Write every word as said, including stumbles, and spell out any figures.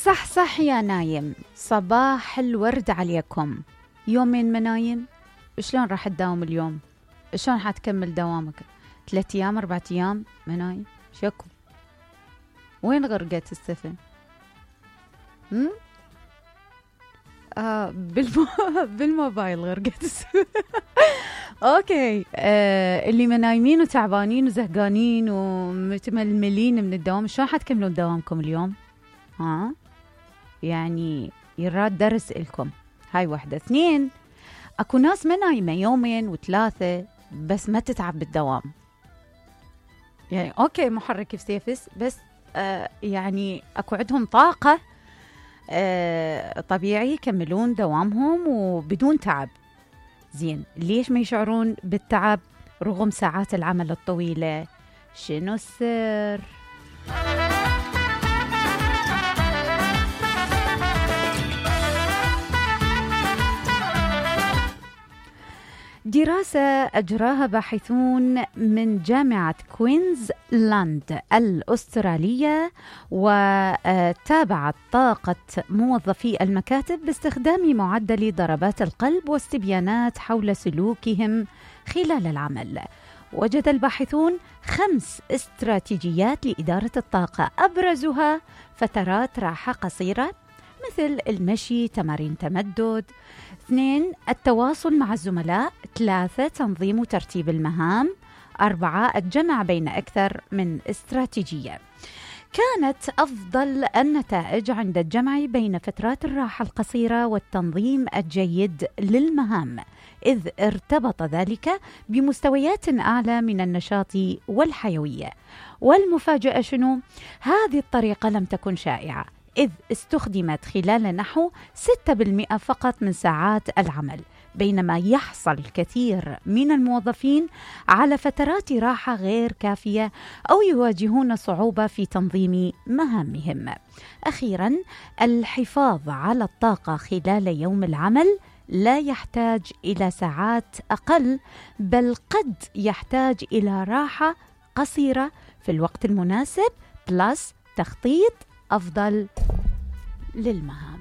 صح صح يا نايم، صباح الورد عليكم. يومين منايم، شلون راح تداوم اليوم؟ شلون حتكمل دوامك؟ ثلاث ايام اربع ايام منايم؟ شكو وين غرقت السفن؟ هم؟ آه بالمو... بالموبايل غرقت السفن. اوكي. آه اللي منايمين وتعبانين وزهقانين ومتململين من الدوام، شلون حتكملون دوامكم اليوم؟ ها يعني يراد درس إلكم. هاي واحدة. اثنين، اكو ناس ما نايمة يومين وثلاثة بس ما تتعب بالدوام. يعني اوكي محرك سيفس بس آه يعني اكو عندهم طاقة آه طبيعي يكملون دوامهم وبدون تعب. زين، ليش ما يشعرون بالتعب رغم ساعات العمل الطويلة؟ شنو السر؟ دراسة أجراها باحثون من جامعة كوينزلاند الأسترالية وتابعت طاقة موظفي المكاتب باستخدام معدل ضربات القلب واستبيانات حول سلوكهم خلال العمل. وجد الباحثون خمس استراتيجيات لإدارة الطاقة، أبرزها فترات راحة قصيرة مثل المشي، تمارين تمدد. اثنين، التواصل مع الزملاء. ثلاثة، تنظيم وترتيب المهام. أربعة، الجمع بين أكثر من استراتيجية. كانت أفضل النتائج عند الجمع بين فترات الراحة القصيرة والتنظيم الجيد للمهام، إذ ارتبط ذلك بمستويات أعلى من النشاط والحيوية. والمفاجأة شنو؟ هذه الطريقة لم تكن شائعة، إذ استخدمت خلال نحو ستة بالمئة فقط من ساعات العمل، بينما يحصل الكثير من الموظفين على فترات راحة غير كافية أو يواجهون صعوبة في تنظيم مهامهم. أخيراً، الحفاظ على الطاقة خلال يوم العمل لا يحتاج إلى ساعات أقل، بل قد يحتاج إلى راحة قصيرة في الوقت المناسب بلس تخطيط أفضل للمهام.